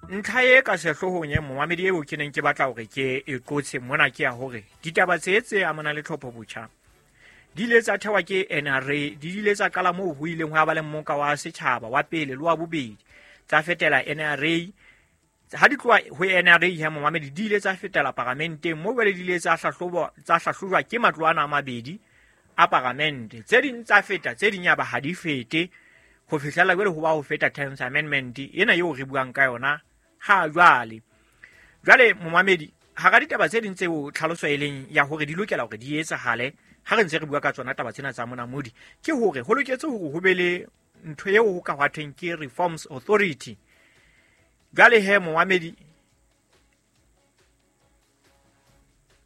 Ntlha e ka sehloohong e momamedi eo ke neng ke batla hore ke e qotse mona ke ya hore ditaba tse tse amanang le tlhopho botjha di ile tsa thewa ke NRA, di ile tsa qala moo ho ileng hwa ba le mmoka wa setjhaba wa pele le wa bobedi, tsa fetela NRA. Ha di tloha ho NRA ya momamedi di ile tsa fetela paramenteng, moo jwale di ile tsa hlahlojwa ke matlo ana a mabedi a paramente. Tse ding tsa feta, tse ding ya ba ha di fete, ho fihlela jwale ho ba ho feta Terms Amendment ena eo re buang ka yona ha jwale. Jwale momamedi, hara ditaba tse ding tseo tlhaloso e leng ya hore di lokela hore di etsahale ha re ntse re bua ka tsona taba tsena tsa monamodi, ke hore ho loketse hore ho be le ntho eo ho ka hwa thweng ke Reforms Authority. Jwale he momamedi,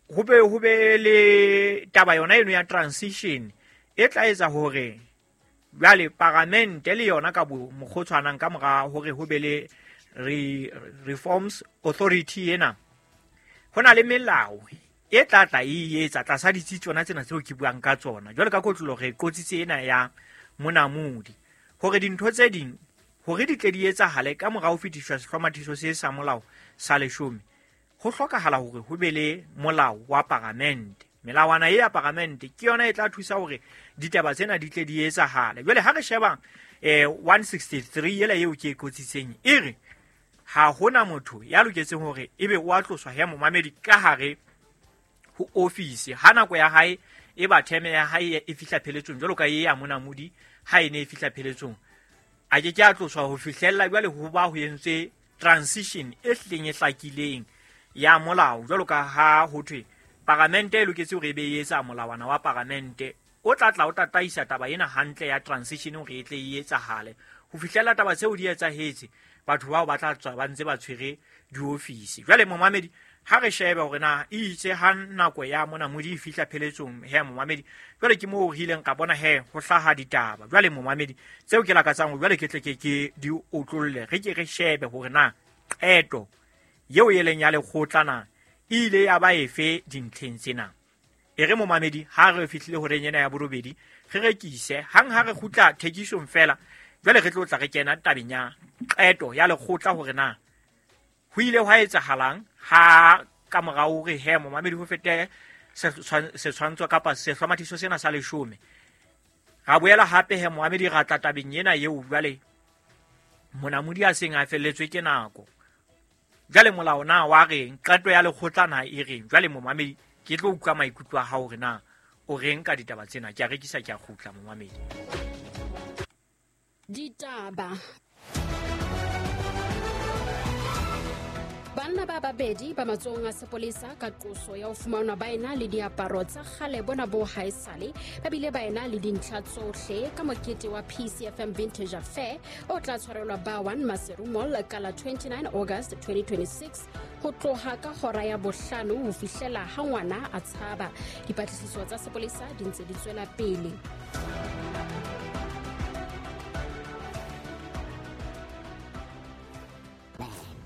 ho be le taba yona eno ya transition e tla etsa hore jwale paramente le yona ka mokgwa o tshwanang ka mora hore ho be le Reforms Authority ena, ho na le melao e tla tla e etsa tlasa ditsi tsona tsena tseo ke buang ka tsona. Jwale ka kotlolo re qotsitse ena ya monamodi hore dintho tse ding hore di tle di etsahale ka mora ho fetiswa sehlomathiso se sa molao sa leshome, ho hlokahala hore ho be le molao wa paramente. Melawana e ya paramente ke yona e tla thusa hore ditaba tsena di tle di etsahale. Jwale ha re sheba 163 ela eo ke e qotsitseng, e re ha hona motho ya loketseng hore ebe o a tloswa ya momamedi ka hare ho ofisi ha nako ya hae e ba theme ya hae e fihla pheletsong, jwalo ka e ya monamodi ha e ne e fihla pheletsong, a ke ke a tloswa ho fihlella jwale ho ba ho entswe transition e hlileng e hlakileng ya molao. Jwalo ka ha ho thwe paramente e loketse hore e be e etsa molawana wa paramente o tla tla o tataisa taba ena hantle ya transition hore e tle e etsahale. Ho fihlella taba tseo di etsahetse, batho bao ba tla tswa ba ntse ba tshwere diofisi. Jwale momamedi, ha re shebe hore na e itse ha nako ya monamodi e fihla pheletsong he momamedi, jwale ke moo re ileng ka bona he ho hlaha ditaba. Jwale momamedi, tseo ke lakatsang hore jwale ke tle ke di otlolle, re ke re shebe hore na qeto eo e leng ya lekgotla na e ile ya ba efe dintlheng tsena. E re momamedi, ha re fihlile horeng ena ya borobedi, re rekise hang ha re kgutla thekisong fela, jwale re tlo tla re kena tabeng ya qeto ya lekgotla hore na ho ile hwa etsahalang ha ka morao hore he momamedi ho fete setshwantsho kapa sehlomathiso sena sa leshome. Ra boela hape he momamedi ra tla tabeng ena eo jwale monamodi a seng a felletswe ke nako. Jwale molao na wa reng, qeto ya lekgotla na e reng? Jwale momamedi ke tlo utlwa maikutlo a hao hore na o reng ka ditaba tsena. Ke a rekisa, ke a kgutla momamedi. Ditaba. Banna ba babedi ba matsohong a sepolesa ka qoso ya ho fumanwa ba ena le diaparo tsa kgale bona bo haesale, ba bile ba ena le dintlha tsohle ka mokete wa PCFM Vintage Affair o tla tshwarelwa Bawan Maseru Mall ka la 29 August 2026 ho tloha ka hora ya bohlano ho fihlela ha ngwana a tshaba. Dipatlisiso tsa sepolesa di ntse di tswela pele.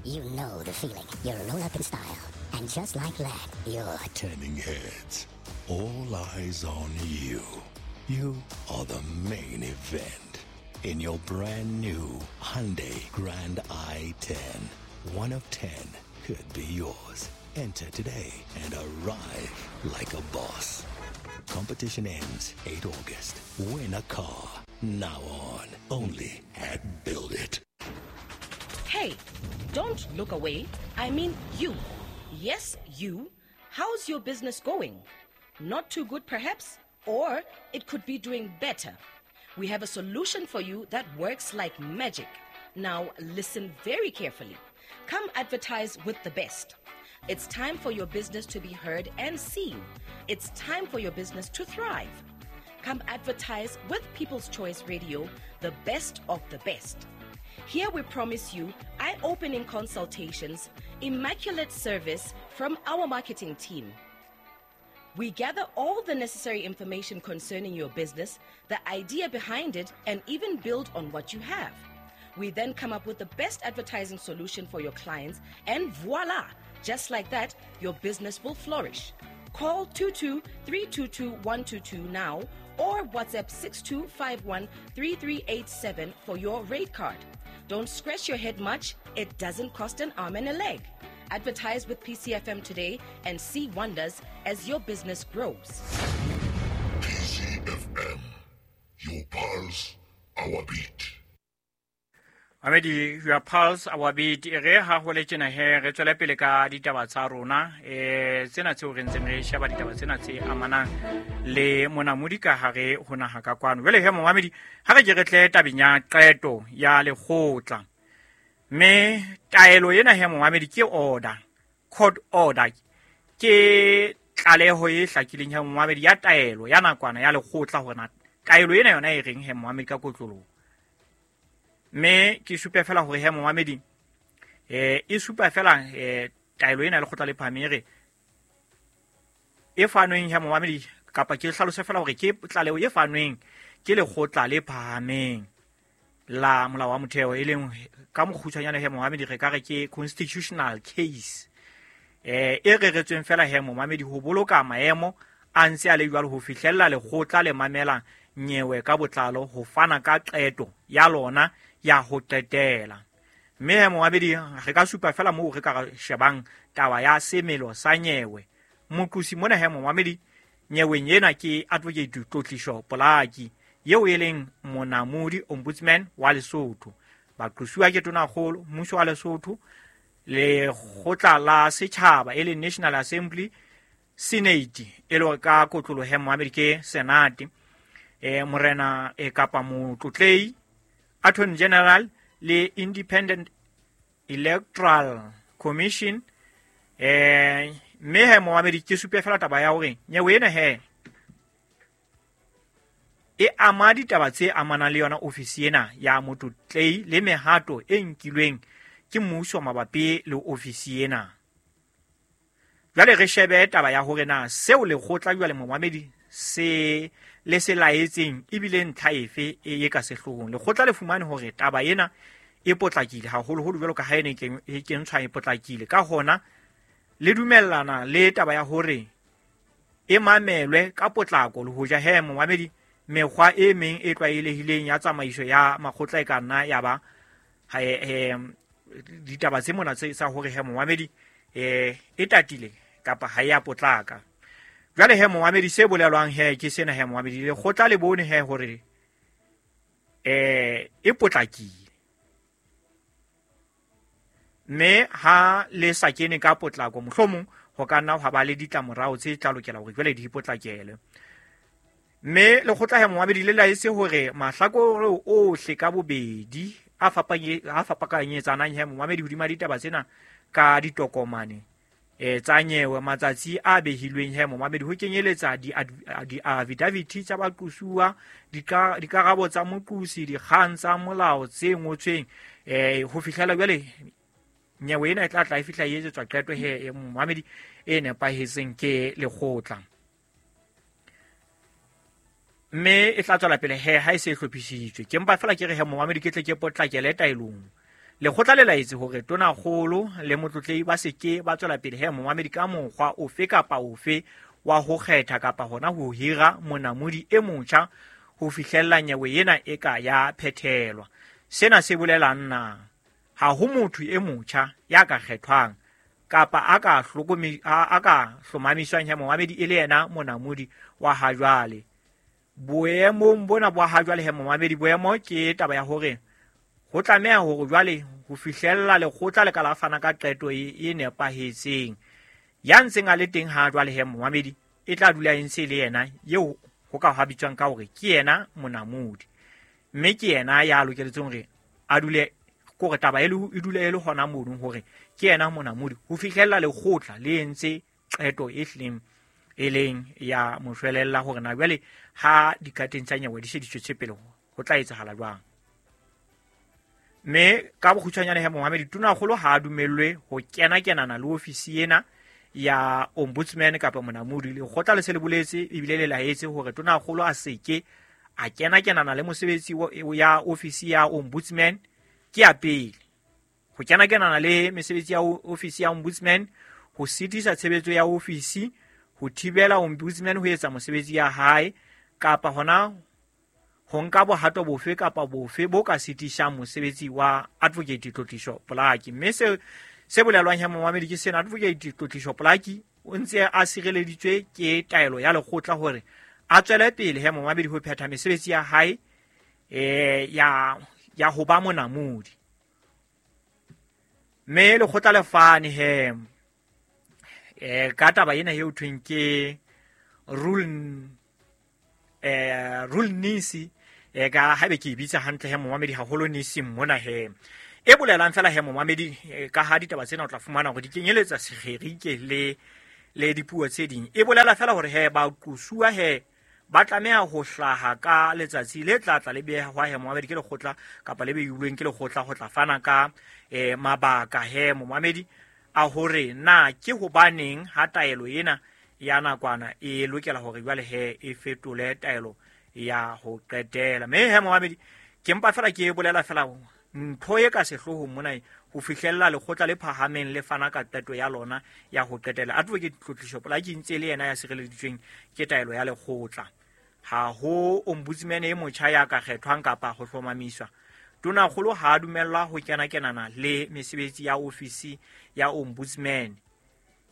You know the feeling. You roll up in style. And just like that, you're turning heads. All eyes on you. You are the main event. In your brand new Hyundai Grand i10. 1 of 10 could be yours. Enter today and arrive like a boss. Competition ends 8 August. Win a car. Now on. Only at Build It. Hey, don't look away. I mean you. Yes, you. How's your business going? Not too good, perhaps? Or it could be doing better. We have a solution for you that works like magic. Now, listen very carefully. Come advertise with the best. It's time for your business to be heard and seen. It's time for your business to thrive. Come advertise with People's Choice Radio, the best of the best. Here we promise you eye-opening consultations, immaculate service from our marketing team. We gather all the necessary information concerning your business, the idea behind it, and even build on what you have. We then come up with the best advertising solution for your clients, and voila! Just like that, your business will flourish. Call 22-322-122 now or WhatsApp 6251-3387 for your rate card. Don't scratch your head much, it doesn't cost an arm and a leg. Advertise with PCFM today and see wonders as your business grows. PCFM, your pulse, our beat. Amedi, your pulse, our beat. Re ha ho le tjena he re tswele pele ka ditaba tsa rona. Tsena tseo re ntseng re sheba ditaba tsena tse amanang le monamodi ka hare ho naha ka kwano. Jwale he momamedi, ha re ke re tle tabeng ya qeto ya lekgotla. Mme taelo ena he momamedi ke order, court order. Ke tlaleho e hlakileng he momamedi ya taelo ya nakwana ya lekgotla hore na taelo ena yona e reng he momamedi ka kotloloho. Mme ke supe fela hore he momamedi e supa fela taelo ena lekgotla le phahameng e fanweng he momamedi kapa ke hlalose fela hore ke tlaleho e fanweng ke lekgotla le phahameng la molao wa motheo e leng ka mokgutshwanyane he momamedi re ka re ke constitutional case e reretsweng fela he momamedi ho boloka maemo a ntse a le jwalo ho fihlella lekgotla le mamela nyewe ka botlalo ho fana ka qeto ya lona ya ho qetela. Mme he momamedi re ka supa fela moo re ka shebang taba ya semelo sa nyewe. Moqosi mona he momamedi nyeweng ena ke Advocate Tlotliso Polaki eo e leng monamodi ombudsman wa Lesotho. Baqosuwa ke Tonakgolo, mmuso wa Lesotho, lekgotla la setjhaba e leng National Assembly, Senate e le ka kotlolo he momamedi ke Senate, morena kapa motlotlei, Attorney General le Independent Electoral Commission. Mme he momamedi ke supe fela taba ya hore nyewe ena he e ama ditaba tse amanang le yona ofisi ena ya motlotlei le mehato e nkilweng ke mmuso mabapi le ofisi ena. Jwale re shebe taba ya hore na seo lekgotla jwale momamedi se le se laetseng ebile ntlha efe e ka sehloohong. Lekgotla le fumane hore taba ena e potlakile haholoholo jwalo ka ha ene e kentshwa e potlakile. Ka hona le dumellana le taba ya hore e mamelwe ka potlako le hoja he momamedi mekgwa e meng e tlwaelehileng ya tsamaiso ya makgotla e ka nna ya ba ditaba tse mona tse sa hore he momamedi e tatile kapa ha ya potlaka. Jwale he momamedi se bolelwang he ke sena he momamedi lekgotla le bone he hore e potlakile. Mme ha le sa kene ka potlako mohlomong ho ka nna ha ba le ditlamorao tse tla lokela hore jwale di potlakele. Mme lekgotla he momamedi le laetse hore mahlakore ohle ka bobedi a fapanyetsanang he momamedi hodima ditaba tsena ka ditokomane tsa nyewe matsatsi a behilweng he momamedi ho kenyeletsa di-affidavit tsa baqosuwa, dikarabo tsa moqosi, dikgang tsa molao tse ngotsweng ho fihlela jwale nyewe ena e tla tla e fihla e etsetswa qeto he momamedi e nepahetseng ke lekgotla. Mme e tla tswela pele he ha e se e hlophisitswe. Ke mpa fela ke re he momamedi ke tle ke potlakele taelong. Lekgotla le laetse hore Tonakgolo le motlotlei ba se ke ba tswela pele he momamedi ka mokgwa ofe kapa ofe wa ho kgetha kapa hona ho hira monamodi e motjha ho fihlella nyewe ena e ka ya phethelwa. Sena se bolelang na ha ho motho e motjha ya ka kgethwang kapa a ka hlomamiswang he momamedi e le yena monamodi wa ha jwale. Boemong bona bo ha jwale he momamedi boemo ke taba ya hore ho tlameha hore jwale ho fihlella lekgotla le ka la fana ka qeto e nepahetseng. Ya ntseng a le teng ha jwale he momamedi e tla dula e ntse le yena eo ho ka ha bitswang ka hore ke yena monamodi. Mme ke yena ya lokeletseng hore a dule kore taba e dule e le hona mono hore ke yena monamodi ho fihlella lekgotla le entse qeto e hlileng e leng ya moshwelella hore na jwale ha dikateng tsa nyewe di se di tswetse pele ho tla etsahala jwang. Mme ka bokgutshwanyane he momamedi Tonakgolo ha a dumellwe ho kena-kenana le ofisi ena ya ombudsman kapa monamodi. Lekgotla le se le boletse ebile le laetse hore Tonakgolo a seke a kena-kenana le mosebetsi ya ofisi ya ombudsman ke ya pele. Ho kena-kenana le mesebetsi ya ofisi ya ombudsman, ho sitisa tshebetso ya ofisi, ho thibela ombudsman ho etsa mosebetsi ya hae kapa hona ho nka bohato bofe kapa bofe bo ka sitisang mosebetsi wa Advocate Tlotliso Polaki. Mme se bolelwang he momamedi ke sena, Advocate Tlotliso Polaki o ntse a sireleditswe ke taelo ya lekgotla hore a tswele pele he momamedi ho phetha mesebetsi ya hae ya ho ba monamodi. Mme lekgotla le fane he ka taba ena eo thweng ke rule nisi ka haebe ke e bitsa hantle he momamedi haholo nisi mona he e bolelang fela he momamedi ka ha ditaba tsena o tla fumana hore di kenyeletsa Segerike le dipuo tse ding. E bolela fela hore he ba qosuwa he ba tlameha ho hlaha ka letsatsi le tla le behwa he momamedi ke lekgotla kapa le beilweng ke lekgotla ho tla fana ka mabaka he momamedi a hore na ke hobaneng ha taelo ena ya nakwana e lokela hore jwale he e fetole taelo ya ho qetela. Mme he momamedi ke mpa fela ke bolela fela ntho e ka sehloohong mona ho fihlella lekgotla le phahameng le fana ka qeto ya lona ya ho qetela. Advocate Tlotliso Polaki ntse le yena ya sireleditsweng ke taelo ya lekgotla. Ha ho ombudsman e motjha ya ka kgethwang kapa ho hlomamiswa. Tonakgolo ha a dumellwa ho kena-kenana le mesebetsi ya ofisi ya ombudsman.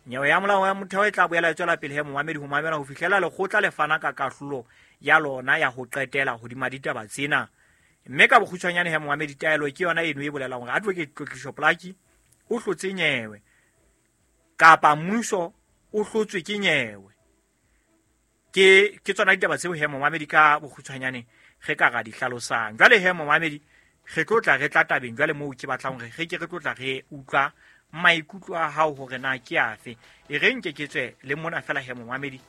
Nyewe ya molao ya motheo e tla boela e tswela pele he momamedi ho mamela ho fihlela lekgotla le fana ka kahlolo ya lona ya ho qetela hodima ditaba tsena. Mme ka bokgutshwanyane he momamedi taelo ke yona eno e bolelang hore Advocate Tlotliso Polaki o hlotse nyewe kapa mmuso o hlotswe ke nyewe. Ke tsona ditaba tseo he momamedi ka bokgutshwanyane re ka ra di hlalosang. Jwale he momamedi re tlo tla re tla tabeng jwale moo ke batlang hore re ke re tlo tla re utlwa maikutlo a hao hore na ke afe. E re nke ke tswe le mona fela he momamedi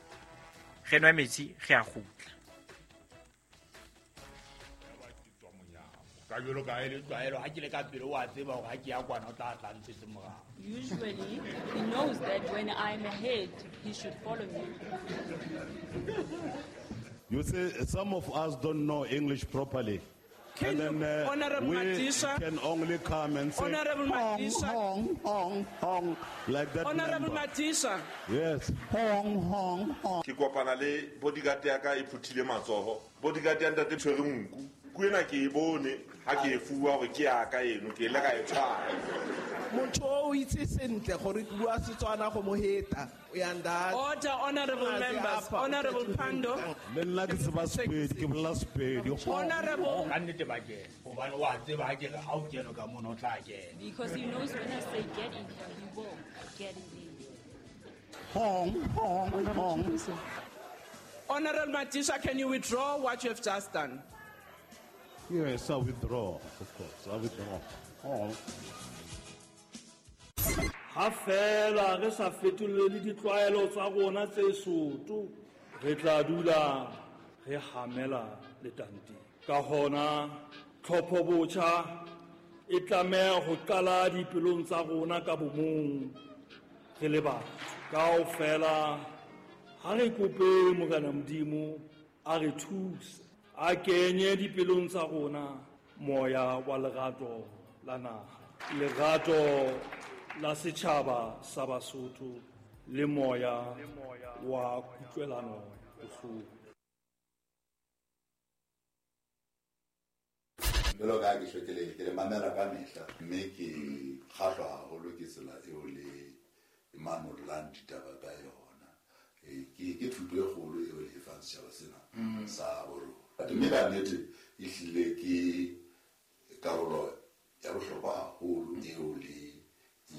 re nwe metsi re a kgutla. Usually, he knows that when I'm ahead, he should follow me. You see, some of us don't know English properly. Can and then Honorable we Madisha, can only come and say, Honorable Madisha, hong, hong, hong, like that. Honorable Madisha. Yes. Hong, hong, hong. Ke kopana le bodyguard ya ka e phuthile matsoho. Bodyguard ya ntate tshwere nku. Ku ena ke e bone ha ke e fuwa hore ke ya ka eno ke ile ka e tshwara. Motho o itse sentle gore ke bua Setswana go mo heta. Order, honorable members. Honorable Pando. Le nna ke tseba Sepedi, ke bolela Sepedi. Honorable. Ka nnete ba kena. Hobane wa tseba ha ke re ha o kene ka mono o tla kena. Because he knows when I say get in here, he will get in there. Hong, hong, hong. Honorable Madisha, can you withdraw what you have just done? Yes, I withdraw, of course. I withdraw. Oh. Ha fela re sa fetolele ditlwaelo tsa rona tse soto, re tla dula re hamela letanteng. Ka hona tlhopho botjha e tlameha ho qala dipelong tsa rona ka bomong re le batho. Kaofela ha re kope Morena Modimo a re thuse, a kenye dipelong tsa rona moya wa lerato la naha, lerato la setjhaba sa Basotho le moya wa kutlwelano bohloko. Jwalo ka ha ke hlwekile ke le mamela ka mehla, mme ke kgahlwa haholo ke tsela eo le manollang ditaba ka yona. Ke thuto e kgolo eo le e fang setjhaba sena sa borona. Mme ka nnete e hlile ke karolo ya bohlokwa haholo eo le e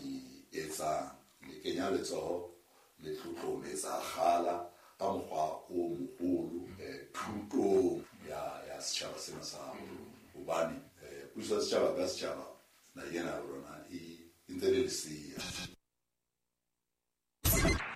etsang. Le kenya letsoho le tlotlometsa kgala ka mokgwa o moholo thutong ya setjhaba sena sa borona. Hobane puso ya setjhaba ka setjhaba naheng ena ya rona e ntse le lesea.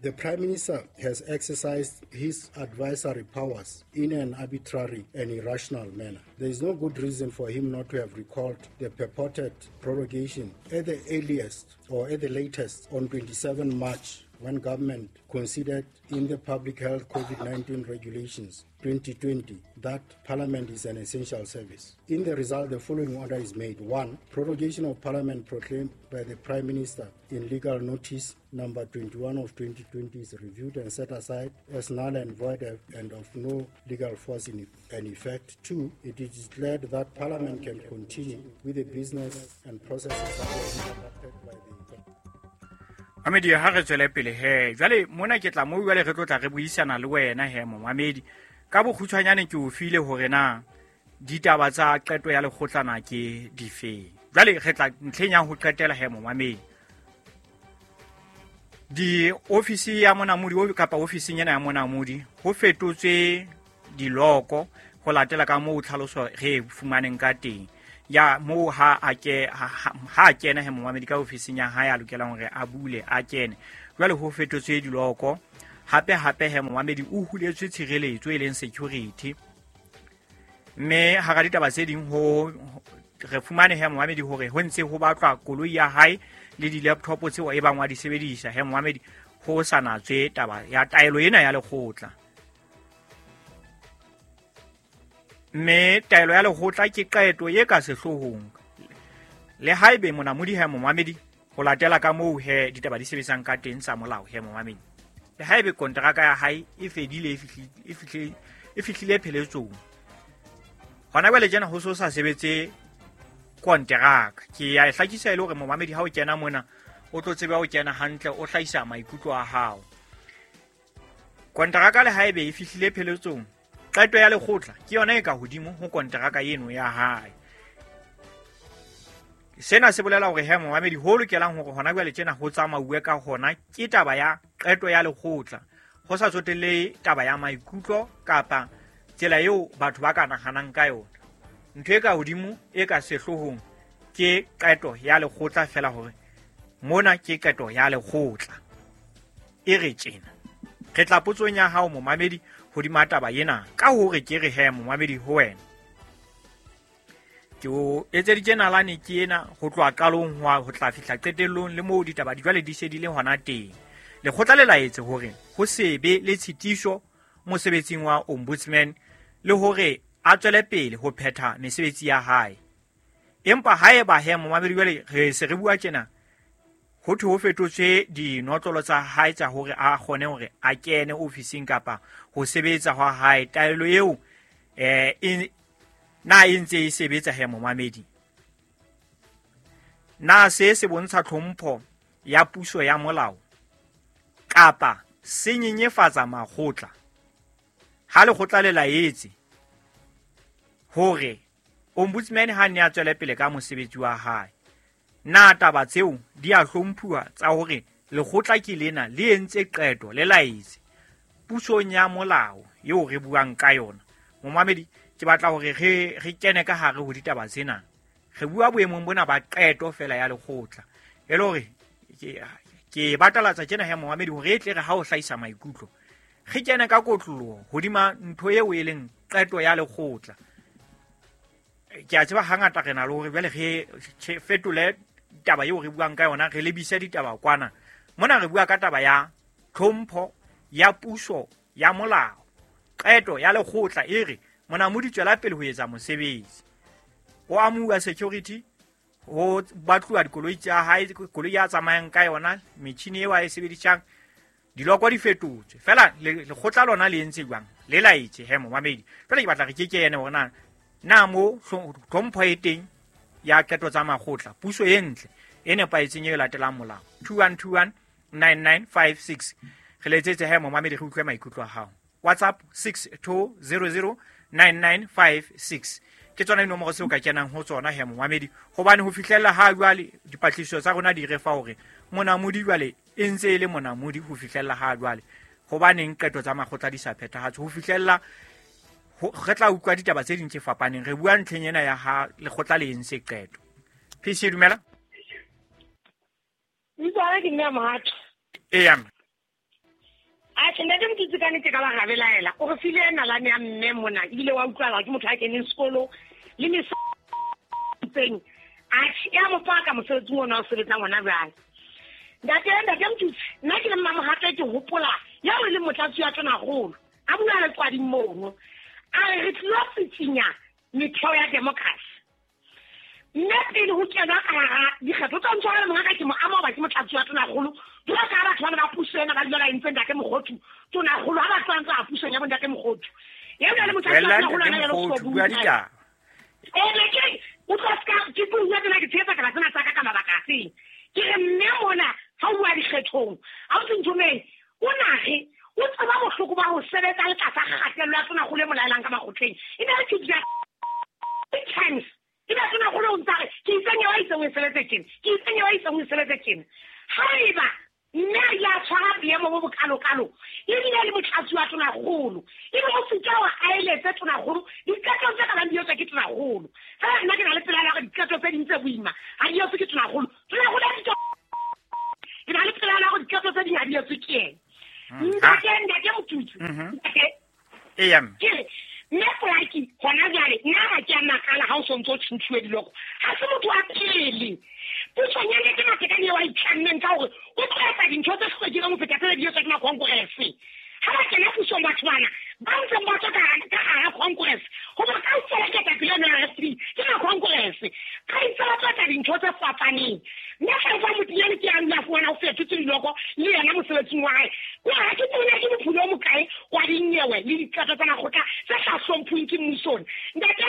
The Prime Minister has exercised his advisory powers in an arbitrary and irrational manner. There is no good reason for him not to have recalled the purported prorogation at the earliest or at the latest on 27 March when government considered in the Public Health COVID-19 Regulations 2020 that Parliament is an essential service. In the result, the following order is made. 1. Prorogation of Parliament proclaimed by the Prime Minister in legal notice number 21 of 2020 is reviewed and set aside as null and void and of no legal force in effect. 2. It is declared that Parliament can continue with the business and processes that were conducted by the Mamedi ha re tswele pele he jwale mona ke tla mo jwale re tlo tla re buisana le wena he momamedi ka bokgutshwanyane ke o file hore na ditaba tsa qeto ya lekgotlana ke difeng. Jwale re tla ntlheng ya ho qetela he momamedi di ofisi ya monamodi kapa ofising ena ya monamodi ho fetotswe diloko ho latela ka moo tlhaloso re fumaneng ka teng ya moo ha a kena he momamedi ka ofising ya hae a lokelang hore a bule a kene. Jwale ho fetotswe diloko hape hape he momamedi o huletswe tshireletso e leng security mme hara ditaba tse ding ho re fumane he momamedi hore ho ntse ho batlwa koloi ya hae le di-laptop tseo e bang wa di sebedisa he momamedi ho sa natswe taba ya taelo ena ya lekgotla. Mme taelo ya lekgotla ke qeto e ka sehloohong le haebe monamodi he momamedi ho latela ka moo he ditaba di sebetsang ka teng tsa molao he momamedi le haebe kontraka ya hae e fedile e fihlile pheletsong hona jwale tjena ho so sa sebetse kontraka. Ke ya e hlakisa e le hore momamedi ha o kena mona o tlo tseba o kena hantle o hlahisa maikutlo a hao. Kontraka le haebe e fihlile pheletsong qeto ya lekgotla ke yona e ka hodimo ho kontraka eno ya hae. Sena se bolela hore he momamedi ho lokelang hore hona jwale tjena ho tsamauwe ka hona ke taba ya qeto ya lekgotla ho sa tsotelle taba ya maikutlo kapa tsela eo batho ba ka nahanang ka yona. Ntho e ka hodimo e ka sehloohong ke qeto ya lekgotla fela hore mona ke qeto ya lekgotla e re tjena. Re tla potsong ya hao momamedi hodima taba ena ka hore ke re he momamedi ho wena ke o etseditse nalane ke ena ho tloha qalong ho tla fihla qetellong le moo ditaba di jwale di se di le hona teng. Lekgotla le laetse hore ho se be le tshitiso mosebetsing wa ombudsman le hore a tswele pele ho phetha mesebetsi ya hae. Empa haeba he momamedi jwale re se re bua tjena ho thwe ho fetotswe dinotlolo tsa hae tsa hore a kgone hore a kene ofising kapa ho sebetsa hwa hae taelo eo na e ntse e sebetsa he momamedi. Na se se bontsha tlhompho ya puso ya molao kapa se nyenyefatsa makgotla ha lekgotla le laetse hore ombudsman ha ne a tswele pele ka mosebetsi wa hae? Na taba tseo di a hlomphuwa tsa hore lekgotla ke lena le entse qeto le laetse pusong ya molao eo re buang ka yona? Momamedi ke batla hore re kene ka hare ho ditaba tsena. Re bua boemong bona ba qeto fela ya lekgotla e le hore ke batalatsa tjena he momamedi hore e tle re ha o hlahisa maikutlo re kene ka kotloloho hodima ntho eo e leng qeto ya lekgotla. Ke a tseba hangata re na le hore jwale re fetole taba eo re buang ka yona re lebise ditaba kwana. Mona re bua ka taba ya tlhompho ya puso ya molao. Qeto ya lekgotla e re monamodi tswela pele ho etsa mosebetsi. Ho amuwa security, ho batluwa dikoloi tsa hae, koloi ya tsamayang ka yona, metjhini eo a e sebedisang, diloko di fetotswe. Fela lekgotla lona le entse jwang? Le laetse he momamedi. Jwale ke batla re ke ene hore na mo tlhompho e teng ya qeto tsa makgotla, puso e ntle e nepahetseng e latelang molao. 2121 9956 re letsetse he momamedi re utlwe maikutlo a hao. WhatsApp 6200 9956 ke tsona dinomoro tseo ka kenang ho tsona he momamedi hobane ho fihlella ha jwale dipatlisiso tsa rona di re fa hore monamodi jwale e ntse e le monamodi ho fihlella ha jwale. Hobaneng qeto tsa makgotla di sa phethahatswe ho fihlella re tla utlwa ditaba tse ding tse fapaneng. Re bua ntlheng ena ya ha lekgotla le entse qeto. PC dumela. Ntwana ke nna Mohato. Eya. A tjhe ntate Motutsi ka nnete ka ba rabelaela. O re file nalane ya mme mona ebile wa utlwala ke motho a keneng sekolo le mesetseng. A ya mo paka mosebetsing ona o sebetsang hona jwale. Ntate Mtutsi, nna ke le mmamohato ke hopola ya o le motlatsi wa Tonakgolo a bua le Qwading mono a re re tlilo tsitsinya metheo ya democracy. Mme pele ho kenwa ka hara dikgetho tsa ntshwara mongaka ke mo ama hoba ke motlatsi wa Tonakgolo. Jwalo ka ha batho bana ba puso ena ba dula ba entse ntate Mokgothu Tonakgolo ha ba tloha ntse a pusong ya bo ntate Mokgothu. Eo le motlatsi wa Tonakgolo ana ya Mokgothu bua ditaba. Ke o tlo ska ke bua tsena ke tshepa ka tsena tsa ka mabaka a feng. Ke re mme mona ha o bua dikgethong ha o tsentsomeng o nage o tseba bohloko ba ho sebetsa le tlasa kgatello ya Tonakgolo e molaelang ka makgotleng. E ne re ke times e ba Tonakgolo o ntsa re ke itseng ya itseng o sebetse tjena ke itseng ya itseng o sebetse tjena. Haeba mme a ile a tshwara boemo bo bokalokalo ebile le motlatsi wa Tonakgolo ebe o sitwa hore a eletse Tonakgolo diqeto tse ka bang di etswa ke Tonakgolo. Fela nna ke na le pelaelo ya hore diqeto tse ding tse boima ha di etswe ke Tonakgolo. Tonakgolo a ke na le pelaelo ya hore diqeto tse ding ha di etswe ke yena. Ntate Motutsi. Ntate. Eya mme. Ke re mme Polaki hona jwale nna ha ke a makala ha o sontso o tjhentjhuwe diloko. Ha se motho wa pele. Pusong ya Ntate Matekane eo a itlammeng ka hore o tlo etsa dintho tse hlwekileng ho feta tse di etswa ke makongrese. Ha ba kena pusong batho bana ba ntseng ba tswa ka hara congress hoba kaofela ketapele ena ya RFP ke makongrese. Ba itse ba tlo etsa dintho tse fapaneng. Mme Hlalefa Motinyane ke a dula fumana o fetotse diloko le yena mosebetsing wa hae. Kwa ha ke tsebe ke mopholo o mokae wa dinyewe le diqeto tsa makgotla tse sa hlomphweng ke mmusong. Ntate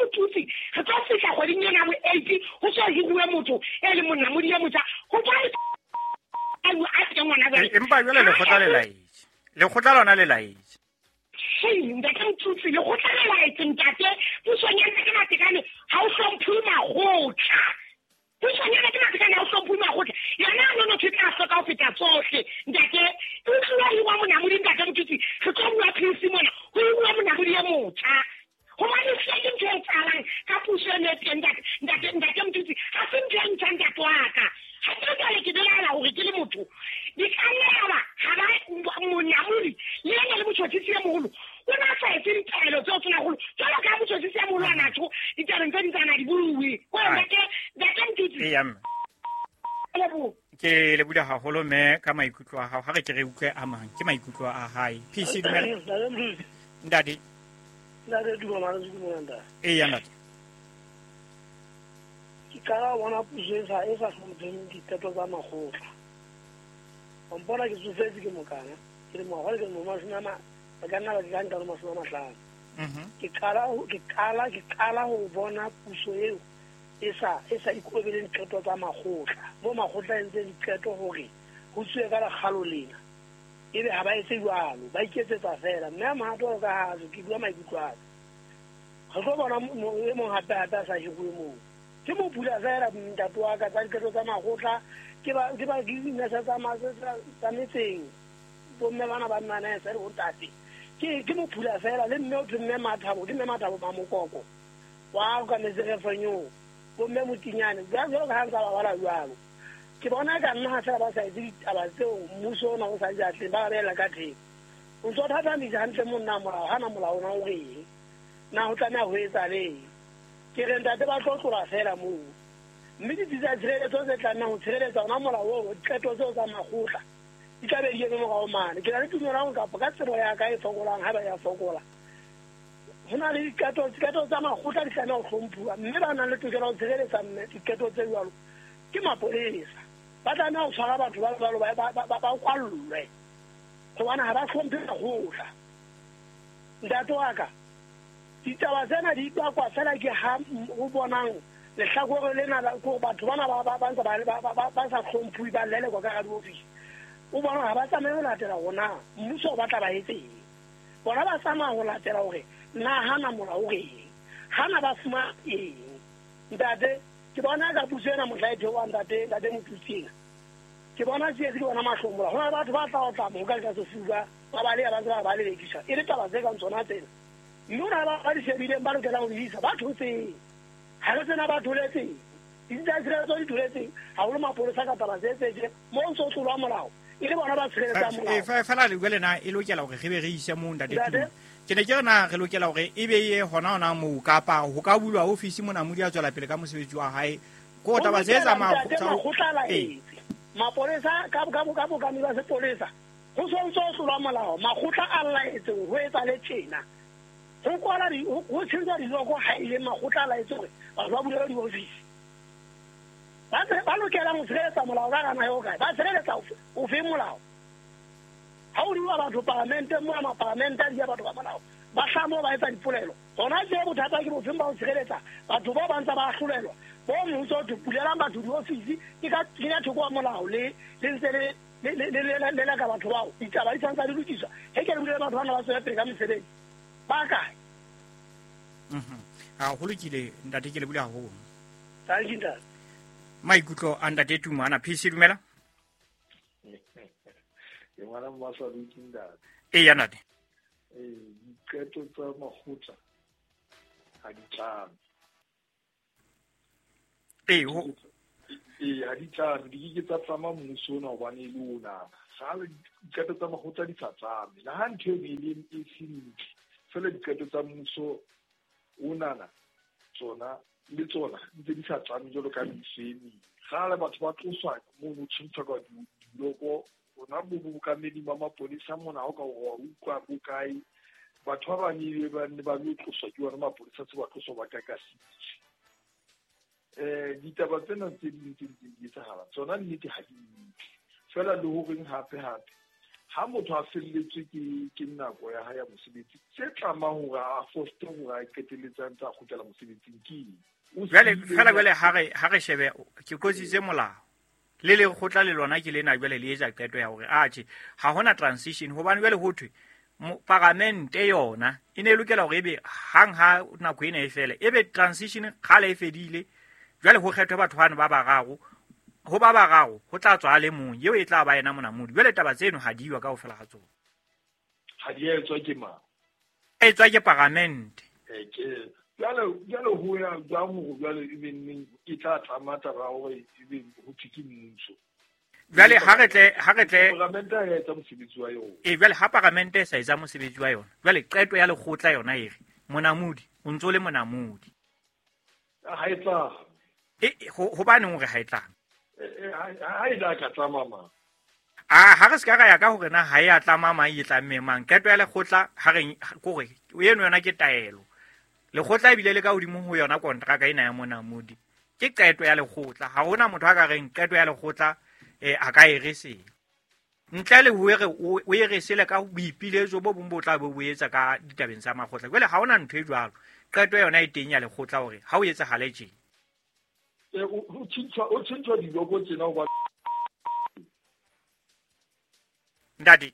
Motutsi re tlo fihla kgweding ena ya bo 8 ho so hiruwe motho e leng monamodi e motjha hobane a teng ngwana jwale. Empa jwale lekgotla le laetse. Lekgotla lona le laetse. Ntate Motutsi lekgotla le laetse ntate pusong ya Ntate Matekane ha o hlomphuwe makgotla. Pusong ya Ntate Matekane ha o hlomphuwe makgotla. Yona ya nonotho e tla hloka ho feta tsohle ntate. O tloha hiwa monamodi ntate Motutsi re tlo bua PEC mona ho hiruwa monamodi e motjha. Hobane se ke ntho e etsahalang ka puso eno e teng ntate Motutsi ha se ntho e ntjha ntate wa ka. Ha ke jwale ke belaela hore ke le motho di ka nna ha ba monamodi le yena le motjhotjhisi e moholo o na sa etse ditaelo tseo Tonakgolo jwalo ka motjhotjhisi e moholo a na tjho ditabeng tse ding tsa na di bue. Ko ntate Motutsi. Eya mme. Ke lebohile haholo mme ka maikutlo a hao. Ha re ke re utlwe a mang ke maikutlo a hae. PC dumela. Ntate. Ntate dumela dumela ntate. Eya ntate. Ke qala ho bona puso e sa hlompheng diqeto tsa makgotla. Wa mpona ke tsofetse ke mokana ke le ngwaga ke le mashome a ba ka nna ba ke ka nka le 50. Ke qala ho bona puso eo e sa ikobeleng diqeto tsa makgotla. Mo makgotla a entseng diqeto hore ho tsuwe ka lekgalo lena. Ebe ha ba etse jwalo, ba iketsetsa fela. Mme a mohato ka ha ke bua maikutlo a ka. Re tlo bona e mong hape hape a sa hiruwe moo. Ke mo pula fela ntate wa ka tsa diqeto tsa makgotla ke ba dinese tsa metseng bomme bana ba mmanese le bontate. Ke mo pula fela le mme o thwe mme Mathabo ke mme Mathabo Mamokoko wa ka metseng bomme Motinyane jwalo ka ha ntsa ba bala jwalo. Ke bona ka nna ha fela ba sa etse ditaba tseo mmuso ona o sa di atleng ba beela ka teng. O ntso thathamisa hantle monna molao hana molao ona o reng na ho tlameha ho etsa leng. Ke re ntate ba tlo tlola fela moo. Mme ditsi tsa tshireletso tse tlamehang ho tshireletsa ona molao oo diqeto tseo tsa makgotla di tla be di eme morao mane. Ke na le tumelo ya hore kapa ka tsebo ya ka e fokolang ha ba ya fokola ho na le diqeto tsa makgotla di tlameha ho hlomphuwa mme ba nang le tokelo ya ho tshireletsa mme diqeto tse jwalo ke mapolesa. Ba tlameha ho tshwara batho ba jwalo ba kwallwe hobane ha ba hlomphe makgotla. Ntate wa ka ditaba tsena di bakwa fela ke ha o bonang lehlakore lena ko batho bana ba ntse ba sa hlomphuwe ba lelekwa ka hara diofisi. O bona ha ba tsamaye ho latela hore na mmuso o batla ba etseng. Bona ba tsamaya ho latela hore na hana molao o reng, hana ba fumana eng. Ntate ke bona ka puso ena mohla e theohang ntate Motutsi ena. Ke bona tsietsi ke bona mahlomola. Ho na le batho ba tla otla moka ka sefuba ba baleha ba ntse ba lelekisa. E le taba tse kang tsona tsena. Mme ho na le ba di shebileng ba lokelang ho di isa ba thotseng. Ha re tsena ba tholetseng. Ditsi tsa tshireletso di tholetseng. Haholo mapolesa ka taba tse tse mo ntso tlolwa molao. E le bona ba tshireletsang molao. Fela le jwale na e lokela hore re be re ise moo ntate Tumo. Ke ne ke re na re lokela hore e be ye hona moo kapa ho ka bulwa ofisi monamodi a tswela pele ka mosebetsi wa hae. Ko taba tse tsa makgotla laetse. Mapolesa ka bokami ba sepolesa go sontse o tlolwa molao makgotla a laetseng go etsa le tjena go kwala go tshentsa diloko ha ile makgotla a laetse gore batho ba bulele diofisi ba lokelang go tshireletsa molao ka gana eo kae ba tshireletsa o fe molao ha o diwa batho palamente mo mapalamente a dia batho ba molao ba hlamo ba etsa dipolelo gona je bothata ke bofeng ba go tshireletsa batho ba ba ntse ba ahlolelwa bo mmuso o pulelang batho diofisi ke ka kenya thoko wa molao le ntse le ka batho bao ditaba di santse di lokiswa he ke re bulele batho bana ba tswela pele ka mesebetsi ba kae. A go lokile ntate, ke le bula haholo. Thank you ntate. Maikutlo a ntate Tuma ana PC dumela. Ke ngwana Mmasaluti ntate. Eya ntate. Diqeto tsa makgotla ha di tlame. Ha di tlame, di ke tsa tlama mmuso ona hobane e le ona. Gale diqeto tsa makgotla di sa tlame. Le ha ntho e le e se ntle, fela diqeto tsa mmuso onana tsona le tsona ntse di sa tlame jwalo ka mebuso e meng. Gale batho ba tloswa mono tshwantshwa ka diloko rona bo bokamedi ba mapolesa mona ha o ka wa utlwa bokae batho ba bang ba ne ba lo tloswa ke ona mapolesa tse ba tloswa ba ka sitse. Ditaba tsena tse ding tse ntseng di etsahala tsona nnete ha di ntle. Fela le horeng hape ha motho a felletswe ke nako ya hae ya mosebetsi tse tlamang hore a foste hore a qetelletse a ntse a kgutlela mosebetsing ke eng? Jwale ha re shebe ke kositse molao le lekgotla le lona ke lena jwale le etsa qeto ya hore atjhe ha hona transition hobane jwale ho thwe paramente yona e ne e lokela hore ebe hang ha nako ena e fele ebe transition kgale e fedile jwale ho kgethwe batho bano ba bararo ho ba bararo ho tla tswa le mong eo e tla ba yena monamodi. Jwale taba tseno ha di iwa kaofela ha tsona. Ha di etswa ke mang? E tswa ke paramente. Ke jwale ho ya jwang hore jwale e be neng e tla tlama taba hore e be ho thwe ke mmuso. Jwale ha re tle paramente ha e etsa mosebetsi wa yona. Jwale ha paramente e sa etsa mosebetsi wa yona jwale qeto ya lekgotla yona e re monamodi o ntso le monamodi. Ha e tla. Hobaneng hore ha e tlame? Ha e la ka tlama mang? Ha re se ka ra ya ka hore na ha e a tlama mang e tlamme mang. Qeto ya lekgotla ha re kore eno yona ke taelo. Lekgotla ebile le ka hodimo ho yona kontraka ena ya monamodi. Ke qeto ya lekgotla. Ha hona motho a ka reng qeto ya lekgotla a ka e re sele. Ntle le hore o e re sele ka boipiletso bo bong bo tla bo etsa ka ditabeng tsa makgotla. Jwale ha hona ntho e jwalo. Qeto yona e teng ya lekgotla hore ha o etsahale tje. O tshintshwa diloko tsena hoba ntate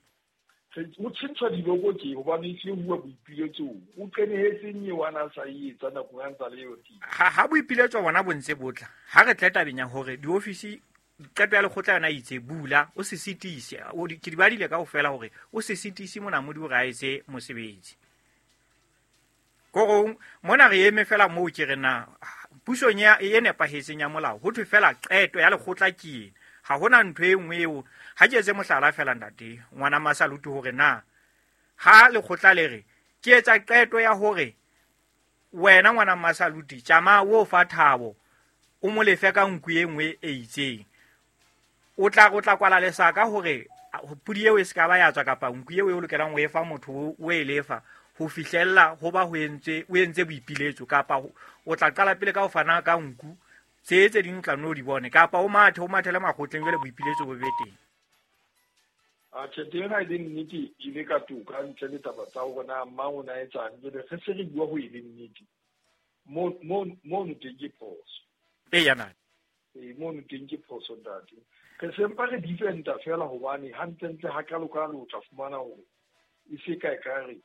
o tshintshwa diloko tje hobane e se bua boipiletso o qenehetseng eo a na sa e etsa nakong ya ntsa le eo teng. Ha boipiletso bona bo ntse bo tla ha re tle tabeng ya hore diofisi qeto ya lekgotla yona e itse bula o se sitise ke di badile kaofela hore o se sitise monamodi hore a etse mosebetsi. Korong mona re eme fela moo ke re na pusong ya e nepahetseng ya molao ho thwe fela qeto ya lekgotla ke ena. Ha hona ntho e nngwe eo ha ke etse mohlala fela ntate ngwana Masaluti hore na ha lekgotla le re ke etsa qeto ya hore wena ngwana Masaluti tjama o fa Thabo o mo lefe ka nku e nngwe e itseng o tla kwala lesaka hore pudi eo e se ka ba ya tswa kapa nku eo e o lokelang ho e fa motho o e lefa ho fihlella ho ba ho entse boipiletso kapa o tla qala pele ka ho fana ka nku tse ding tla no di bone kapa o mathele makgotleng jwale boipiletso bo be teng. Atjhe teng ha e le nnete e le ka toka ntle le taba tsa hore na mang o na etsang jwale re se re bua ho e le nnete mono teng ke phoso. Eya ntate. Mono teng ke phoso ntate. Re sempa re defenda fela hobane hantlentle ha kalokalo o tla fumana hore e se ka ekare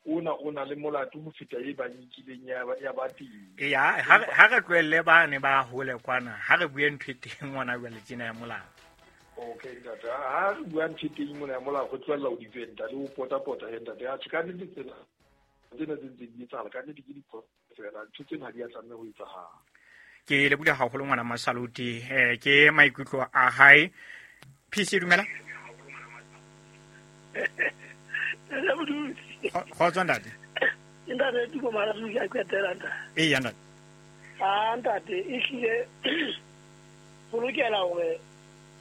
ona o na le molato ho feta e ba nkileng ya ba teng. Eya ha re tlohelle bane ba hole kwana ha re bue ntho e teng ngwana jwale tjena ya molao. Okay ntate, ha re bua ntho e teng mona ya molao go tlohella ho defenda le ho pota-pota he ntate. Atjhe ka nnete tsena tse ntseng di etsahala ka nnete ke diphoso fela, ntho tsena ha di a tlameha ho etsahala. Ke leboha haholo ngwana Masaluti, ke maikutlo a hae. PC dumela. Kgotso ntate. Ntate ke mara ke a qetela ntate. Eya ntate. Ah ntate e hlile ho lokela hore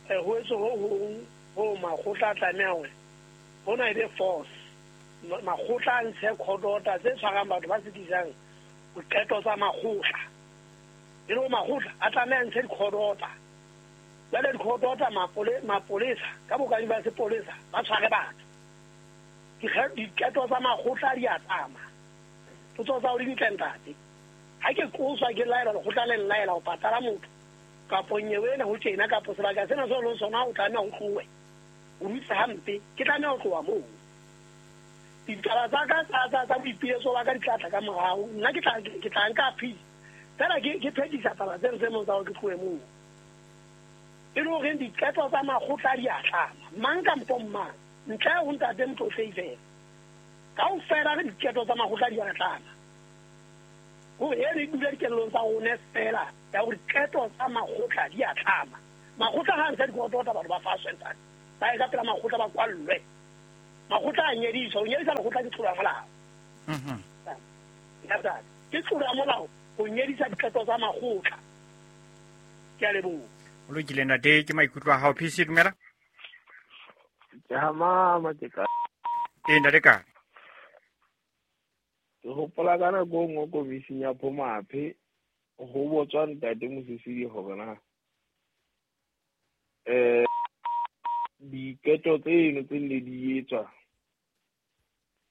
Ho etswe ho hong ho makgotla a tlameha hore hona e be force. Makgotla a ntshe court order tse tshwarang batho ba sitisang diqeto tsa makgotla. E le hore makgotla a tlameha a ntshe di-court order. Jwale di-court order mapolesa ka bokadi ba sepolesa ba tshware batho. Diqeto tsa makgotla di a tsama. Potso tsa hao di ntle ntate. Ha ke qoswa ke laelwa lekgotla le nlaela ho patala motho kapo nyewe ena ho tjena kapo sebaka sena seo leng sona o tlameha ho tlohe. O dutse hampe, ke tlameha ho tloha moo. Ditaba tsa ka tsa boipiletso ba ka di tla tla ka morao. Nna ke tla nka appeal. Fela ke phethisa taba tseno tse mong tsa hore ke tlohe moo. E le horeng diqeto tsa makgotla di a tlama. Mang kampo mang, ntle ho ntate Motlotlei fela. Kaofela re diqeto tsa makgotla di a tlama. Hore eno e dule dikelellong tsa rona fela ya hore diqeto tsa makgotla di a tlama. Makgotla ha a ntsha dikotota batho ba faswe ntate. Ba ye ka pela makgotla ba kwallwe. Makgotla a nyediswa. Ho nyedisa lekgotla ke tlolo ya molao. Ntate, ke tlolo ya molao ho nyedisa diqeto tsa makgotla. Ke a leboha. O lokile ntate, ke maikutlo a hao. PC dumela. Ke ha mama ke ka. Ee ntate ka. Ke hopola ka nako e nngwe komising ya Phomaphe ho botswa ntate Mosisili hore na diqeto tseno tse nne di etswa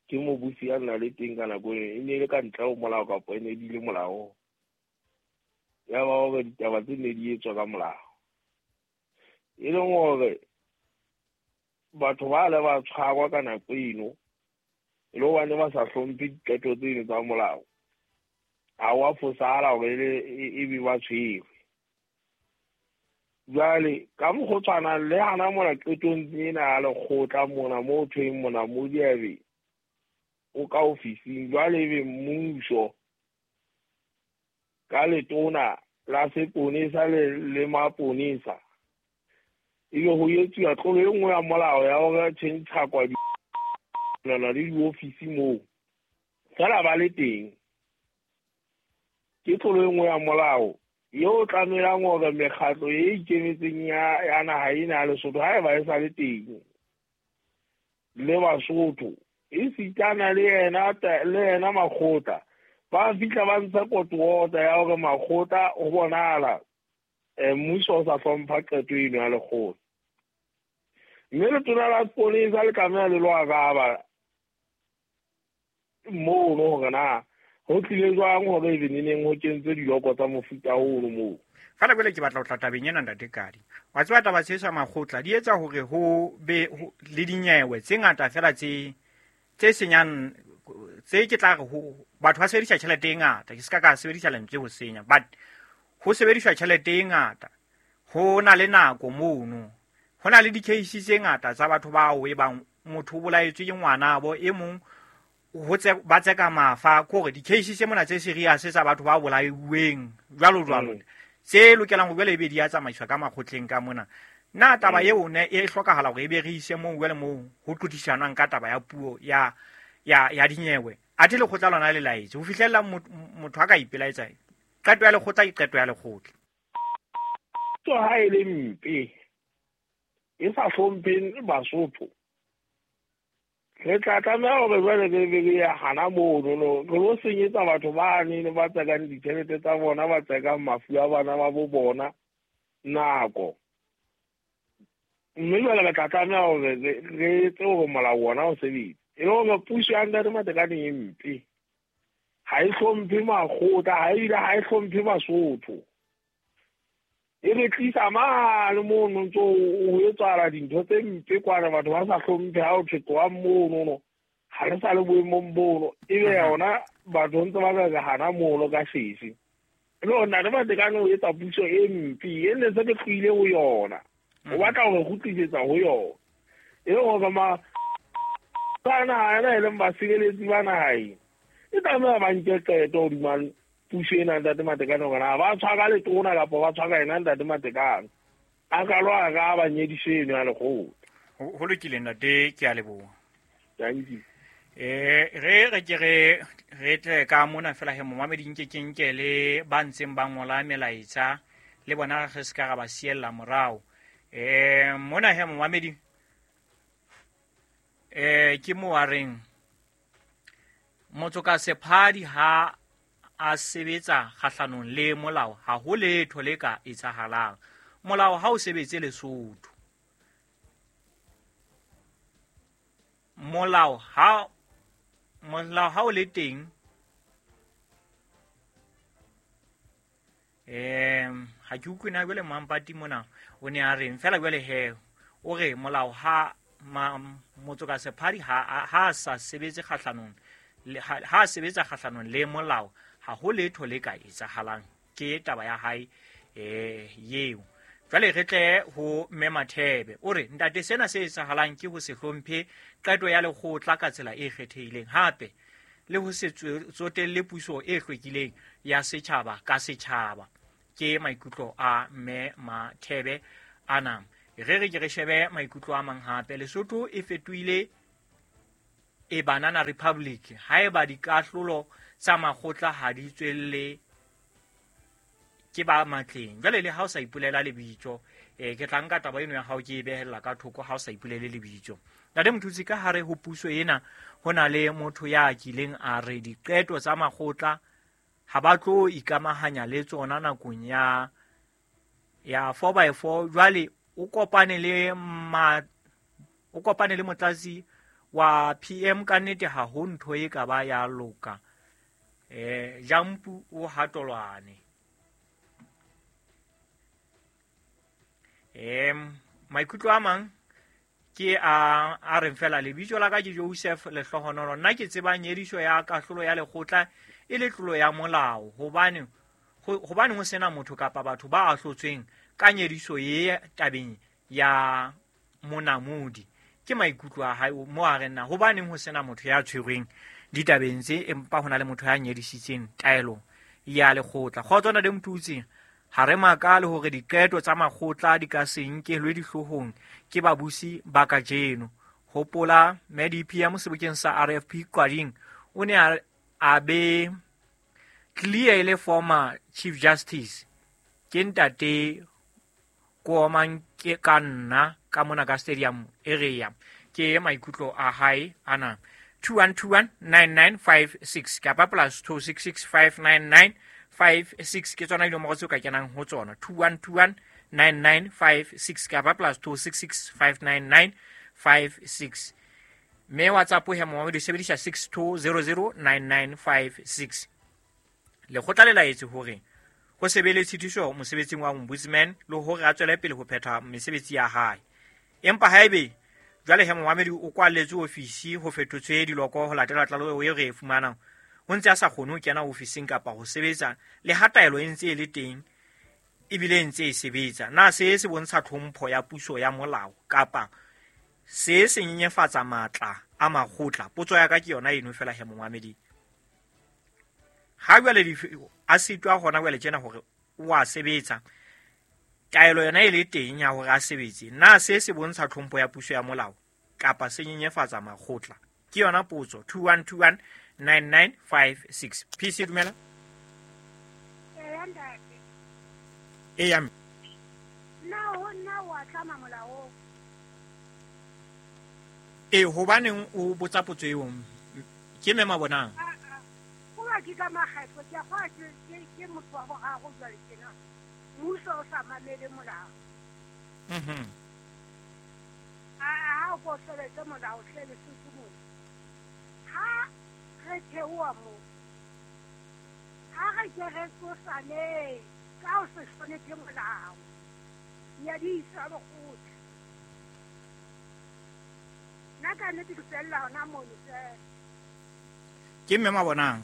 ke mobusi a nna le teng ka nako eno e ne e le ka ntle ho molao kapa e ne di le molaong. Ya ba hore ditaba tse nne di etswa ka molao. E leng hore batho ba le ba tshwarwa ka nako eno e le hobane ba sa hlomphe diqeto tseno tsa molao. Ha wa fosahala hore e be ba tshwerwe. Jwale ka mokgwa o tshwanang le hana mona qetong ena ya lekgotla mona moo thweng mona Modiabe o ka ofising. Jwale ebe mmuso ka letona la seponesa le maponesa ebe ho etsuwa tlolo e nngwe ya molao ya hore tjhentjhakwa le diofisi moo fela ba le teng. Ke tlolo e nngwe ya molao eo tlamelang hore mekgatlo e ikemetseng ya naha ena ya Lesotho haeba e sa le teng le Basotho e sitana le yena makgotla ba fihla ba ntsha kotuota ya hore makgotla ho bonahala mmuso o sa hlompha qeto eno ya lekgotla. Mme letona la seponesa le tlameha le lo araba mono hore na ho tlile jwang hore ebe neneng ho kentswe diloko tsa mofuta ono moo. Fela jwale ke batla ho tla tabeng ena ntate Kadi. Wa tseba taba tse sa makgotla di etsa hore ho be le dinyewe tse ngata fela tse senyang tse ke tla re ho batho ba sebedisa tjhelete e ngata. Ke ska ka sebedisa lentswe ho senya, but ho sebediswa tjhelete e ngata. Ho na le nako mono. Ho na le di-case tse ngata tsa batho bao e bang motho o bolaetswe ke ngwanabo e mong ho ba tseka mafa kore di-case tse mona tse serious tsa batho ba bolaiweng jwalo jwalo tse lokelang ho jwale ebe di a tsamaiswa ka makgotleng ka mona. Na taba eo ne e hlokahala hore ebe re ise moo jwale moo ho tlotlisanwang ka taba ya puo ya dinyewe. Athe lekgotla lona le laetse ho fihlella motho a ka ipelaetsa. Qeto ya lekgotla ke qeto ya lekgotla. So ha e le mpe e sa hlompheng Basotho re tla tlameha hore jwale re be re ya hana mono re lo senyetsa batho ba neng ba tsekang ditjhelete tsa bona ba tsekang mafu a bana ba bo bona nako. Mme jwale re tla tlameha hore re etse hore molao ona o sebetse. E le hore puso ya ntate Matekane e mpe ha e hlomphe makgotla ha ebile ha e hlomphe Basotho. E re tlisa mane mono ntso ho etsahala dintho tse mpe kwana batho ba sa hlomphe ha o thwe tlohang mono ha re sa le boemong bono ebe yona batho ntse ba re hana mono ka sese. E le hore ntate Matekane o etsa puso e mpe e ne se re tlohile ho yona. O batla hore kgutlisetsa ho yona. E le hore ba naha ena e leng basireletsi ba naha ena e tlameha ba nke qeto hodima puso ena ntate Matekane hore na ba tshwara letona kapa ba tshwara ena ntate Matekane a ka lo araba nyediso eno ya lekgotla. Ho lokile ntate, ke a leboha. Thank you. Re ke re tle ka mona fela he momamedi nke ke nke le ba ntseng ba ngola melaetsa le bona re se ka ra ba siella morao. Mona he momamedi ke mo a reng motho ka sephadi ha a sebetsa kgahlanong le molao ha ho letho le ka etsahalang. Molao ha o sebetse Lesotho. Molao ha o le teng ha ke utlwe na jwale Mampati mona o ne a reng fela jwale he o re molao ha motho ka sephadi ha sa sebetse kgahlanong ha sebetsa kgahlanong le molao ha ho letho le ka etsahalang. Ke taba ya hae yeo. Jwale re tle ho Mme Mathebe o re ntate sena se etsahalang ke ho se hlomphe qeto ya lekgotla ka tsela e kgethehileng hape le ho se tsotelle puso e hlwekileng ya setjhaba ka setjhaba. Ke maikutlo a Mme Mathebe ana. Re re ke re shebe maikutlo a mang hape. Lesotho e fetohile e banana republic haeba dikahlolo tsa makgotla ha di tswelle ke ba matleng. Jwale le ha o sa ipolela lebitso ke tla nka taba eno ya hao ke e behella ka thoko ha o sa ipolele lebitso. Ntate Mothusi, ka hare ho puso ena ho na le motho ya kileng a re diqeto tsa makgotla ha ba tlo ikamahanya le tsona nakong ya 4x4. Jwale o kopane le motlatsi wa PM ka nnete ha ho ntho e ka ba ya loka. Jampu o hatolwane. Maikutlo a mang ke a reng fela lebitso la ka ke Joseph Lehlohonolo. Nna ke tseba nyediso ya kahlolo ya lekgotla e le tlolo ya molao hobane ho sena motho kapa batho ba ahlotsweng ka nyediso ye tabeng ya monamodi. Ke maikutlo a hae mo a reng na hobaneng ho sena motho ya tshwerweng ditabeng tse empa hona le motho ya nyedisitseng taelo ya lekgotla. Kgotso na le Mothusi, ha re makale hore diqeto tsa makgotla di ka se nkelwe dihloohong ke babusi ba kajeno. Hopola MDPM sebokeng sa RFP Qading o ne a be clear le former Chief Justice ke ntate Koomang ke ka nna ka mona ka stadium area. Ke maikutlo a hae ana. 21219956 kapa plus 26659956 ke tsona dinomoro tseo ka kenang ho tsona. 21219956 kapa plus 26659956. Mme WhatsApp he mo di sebedisa 62009956. Lekgotla le laetse hore ho se be le tshitiso mosebetsing wa ombudsman le hore a tswele pele ho phetha mesebetsi ya hae. Empa haebe jwale he momamedi o kwalletswe ofisi ho fetotswe diloko ho latela tlaleho e re e fumanang, o ntse a sa kgone ho kena ofising kapa ho sebetsa le ha taelo e ntse e le teng ebile e ntse e sebetsa. Na se se bontsha tlhompho ya puso ya molao kapa se se nyenyefatsa matla a makgotla? Potso ya ka ke yona eno fela he momamedi. Ha jwale a sitwa hona jwale tjena hore o a sebetsa, taelo yona e le teng ya hore a sebetse, na se se bontsha tlhompho ya puso ya molao kapa se nyenyefatsa makgotla? Ke yona potso. 21219956. PC dumela. Eya mme. Na ho nna wa tlama molao. Hobaneng o botsa potso eo? Ke mme Mabonang. Ke ka makgetho ke a ke motho wa boraro jwale tjena. Mmuso o sa mamele molao. Ha o ko sebetse molao hle Lesotho moo. Ha re theoha moo, ha re ke re tsosaneng ka ho se hlonephe molao. Nyadiso ya lekgotla. Nna ka nnete ke fella hona mono fela. Ke mme Mabonang.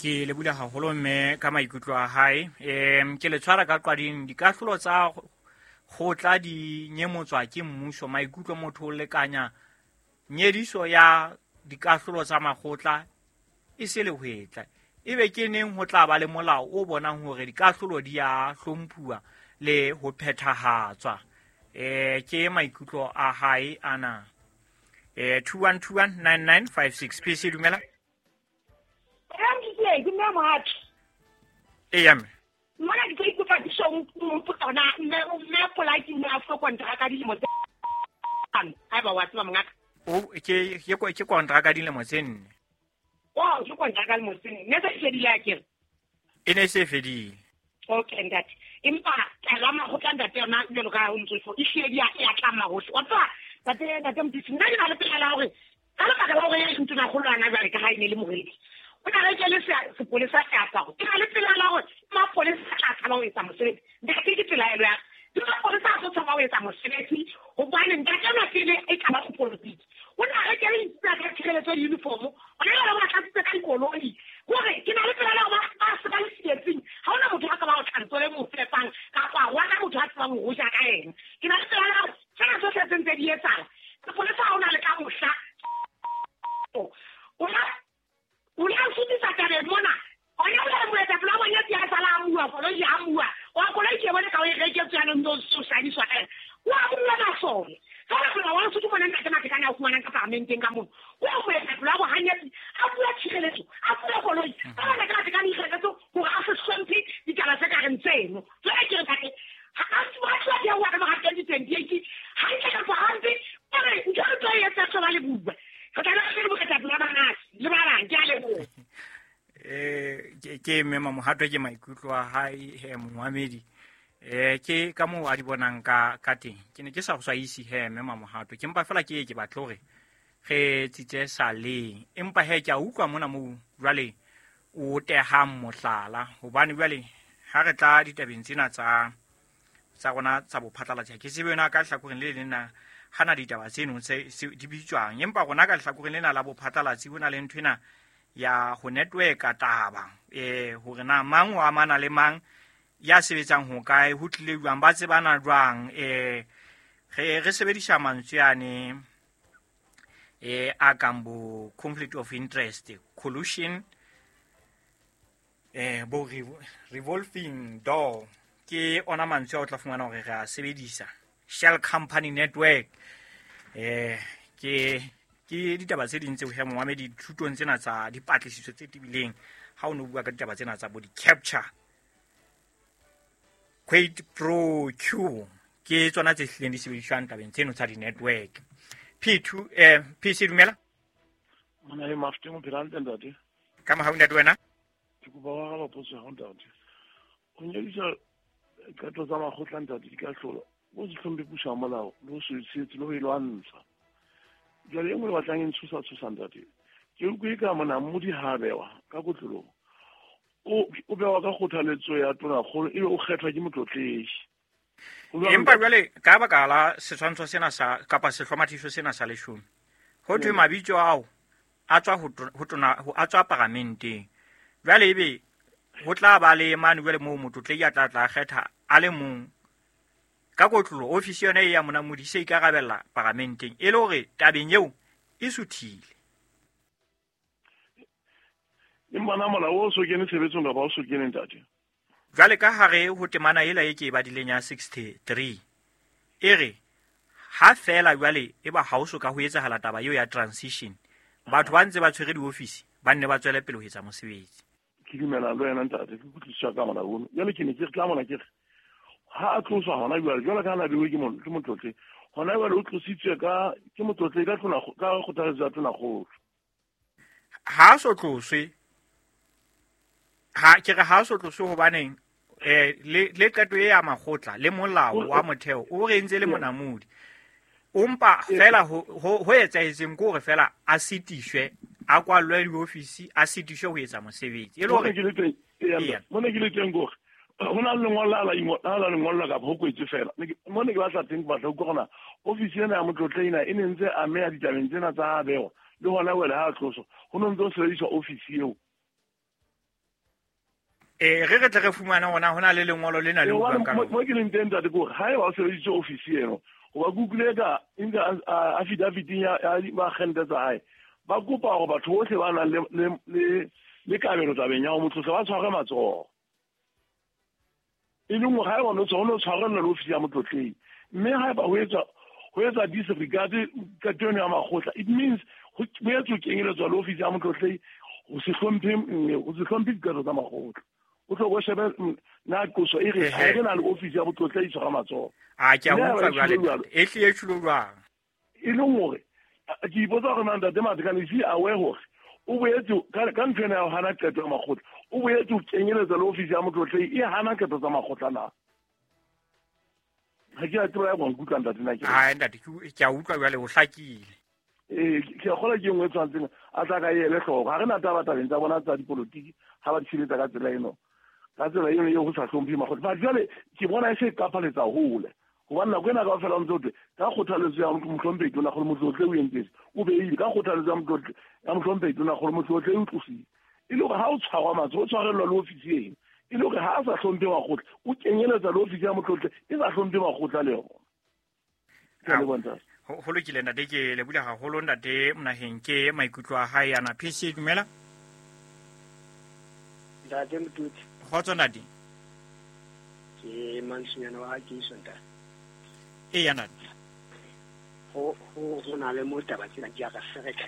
Ke le bula haholo mme ka maikutlo a hae. Ke le tshwara ka qwading. Dikahlolo tsa kgotla di nyemotswa ke mmuso. Maikutlo motho o lekanya nyediso ya dikahlolo tsa makgotla e se lehwetla. Ebe ke neng ho tla ba le molao o bonang hore dikahlolo di a hlomphuwa le ho phethahatswa. Ke maikutlo a hae ana. 21219956. PC dumela. Ke mme Mohato. Eya mme. Mona ke tlo ikopa disong mpotsa na mme polaki o a fuwe kontraka dilemo tse hlano. Haeba wa tseba mongaka. O ke kontraka dilemo tse 4. O ke kontraka dilemo tse 4. Ne se fedile akere? E ne se fedile. Okay ntate. Empa tla makgotla ntate yona jwalo ka o ntse e hlile ya tlama hohle. Wa tseba ntate Mothusi, nna ke na le pela la hore ka lebaka la hore e ntona kgolwana jwale ka ha e ne le moredi. O na rekele sepolesa seaparo. Ke na le pela la hore mapolesa a tla tshaba ho etsa mosebetsi. Ntate ke pelaelo ya ka. Ke mapolesa a tlo tshaba ho etsa mosebetsi hobane ntate enwa pele e tla ba sepolotiki. O na rekele dithunya tsa tshireletso le uniform. O na le ba tlatsitse ka dikoloi. Hore ke na le pela la hore ba se ba le tsietsing. Ha hona motho a ka ba o tlantso le mo fepang kapa wa ka motho a tsebang ho ja ka ena. Ke na le pela la hore tsena tsohle tse ntse di etsahala. Sepolesa ha hona le ka mohla. O la sutisa tabeng mona. O ya le moetapele wa bona ya sala a bua, koloi ya bua. Wa koloi ke bone ka o e reketswe yanong ntse o sadiswa ka ena. Wa bua masole. Fela fela wa Lesotho mona ntate Matekane a o fumanang ka paramenteng ka mono. O ya moetapele wa bohanyetsi, a bua tshireletso, a bua koloi. Fela ntate Matekane ikgethetse hore a se hlomphe ditaba tse ka reng tseno. Jwale ke re ntate, ha a tloha theoha ka mora 2028, hantle kapa hampe, o re ntho re tlo e etsa tlo ba le bua. Re tla be re moetapele wa manase le ba bang, ke a leboha. Ke mme Mamohato ke maikutlo a hae he momamedi. Ke ka moo a di bonang ka teng. Ke ne ke sa go swaise he mme Mamohato. Ke mpa fela ke ke batle hore re tsitse saleng. Empa he ke a utlwa mona moo jwale o tehang mohlala hobane jwale ha re tla ditabeng tsena tsa rona tsa bophatlalatsi ke tsebe yona ka hlakoreng le leng na hana ditaba tseno tse di bitswang empa rona ka hlakoreng lena la bophatlalatsi ho na le ntho ena ya ho network taba hore na mang o amana le mang ya sebetsang ho kae ho tlile jwang ba tsebana jwang re sebedisa mantswe ane a kang bo conflict of interest, collusion, bo revolving door ke ona mantswe a o tla fumana hore re a sebedisa. Shell company network ke ditaba tse ding tseo he momamedi dithutong tsena tsa dipatlisiso tse tebileng ha o no bua ka ditaba tsena tsa bo di-capture quid pro quo ke tsona tse hlileng di sebediswang tabeng tseno tsa di-network. P2 PC dumela mona e mafteng o phela hantle ntate. Ka mohau ntate wena ke kopa ho araba potso ya hao ntate. Ho nyedisa qeto tsa makgotla ntate di ka hlola o se hlomphe puso ya molao le ho se tshehetse le ho e lwantsha. Jwale e nngwe e batlang e ntshosa ntate. Ke utlwe ka monamodi ha bewa ka kotloloho. O bewa ka kgothaletso ya tonakgolo ebe o kgethwa ke motlotlehi. Empa jwale ka baka la setshwantsho sena sa kapa sehlomathiso sena sa leshome ho thwe mabitso ao a tswa ho tona ho a tswa paramenteng. Jwale ebe ho tla ba le mane jwale moo motlotlehi a tla kgetha a le mong ka kotlolo ofisi yona e ya monamodi se ikarabella paramenteng e le hore tabeng eo e suthile. Empa na molao o so kene tshebetsong kapa o so kene ntate? Jwale ka hare ho temana ela e ke e badileng ya 63 e re ha fela jwale e ba ha o so ka ho etsahala taba eo ya transition batho ba ntse ba tshwere diofisi ba nne ba tswele pele ho etsa mosebetsi. Ke dumela le wena ntate, ke kutlwisisa ka molao ono. Jwale ke ne ke tla mona ke re ha a tloswa hona jwale jwale ka na bewe ke motlotle hona jwale o tlositswe ka ke motlotle ka ka kgothaletso ya tonakgolo. Ha so tloswe ha ke re ha so tloswe hobaneng le qeto e ya makgotla le molao wa motheo o re entse le monamodi o mpa fela ho etsahetseng ke hore fela a sitiswe a kwallwe diofisi a sitiswe ho etsa mosebetsi e le hore mona ke le teng hore ho na le lengolo la lengolo kapa ho kwetswe fela mona ke batla teng ke batla ho utlwa ofisi ena ya motlotle ena e ne ntse ameha ditabeng tsena tsa bewa le hona wele ha tloso ho no ntse ho sebediswa ofisi eo. Re re tle re fumana hona ho na le lengolo lena le buang ka mo ke leng teng ntate ke hore ha eba o sebedisitse ofisi eno hoba ke utlwile ka affidavit-ing ya baagente tsa hae ba kopa hore batho bohle ba nang le kabelo tabeng ya ho motlotle ba tshware matsoho e leng hore ha eba o no tshwarella le ofisi ya motlotleng mme ha eba ho etsa disregard qeto eno ya makgotla it means ho boetse ho kenyeletswa le ofisi ya motlotleng ho se hlomphe diqeto tsa makgotla. O tlo go shebe na qoso e re ha re na le office ya botlotlehi tshwara matsoho. A ke a utlwa jwale e tle e tshilo jwang? E leng hore ke ipotsa hore na Ntate Matekane is aware hore o boetse ka ntho ena ya ho hana qeto ya makgotla, o boetse o kenyeletsa le office ya motlotlehi e hana qeto tsa makgotla na. Ha ke a tseba ya go nkutlwa ntate na ke. Ai ntate ke a utlwa jwale o hlakile. Ke a kgolwa ke engwe e tshwantseng a tla ka ele hloko. Ha re na taba tabeng tsa bona tsa dipolotiki ha ba di sebetsa ka tsela eno. Ka tsela eno eo ho sa hlomphe makgotla. But jwale ke bona e se e qapaletsa hole. Hobane nako ena kaofela o ntse o thwe ka kgothaletso ya mohlomphehi Tona Kgolo Motlotle o entse se, o beile ka kgothaletso ya mohlomphehi Tona Kgolo Motlotle o tlosile. E le hore ha o tshwarwa matsoho o tshwarellwa le ofisi eno. E le hore ha a sa hlomphe makgotla o kenyeletsa le ofisi ya motlotle e sa hlomphe makgotla le yona. Ke a leboha ntate. Ho lokile ntate, ke lebohile haholo ntate Monaheng ke maikutlo a hae ana. PC dumela. Ntate Motutsi. Kgotso ntate. Ke Mansunyana wa Kiso ntate. Eya ntate. Ho na le mo taba tsena di a re ferekanya.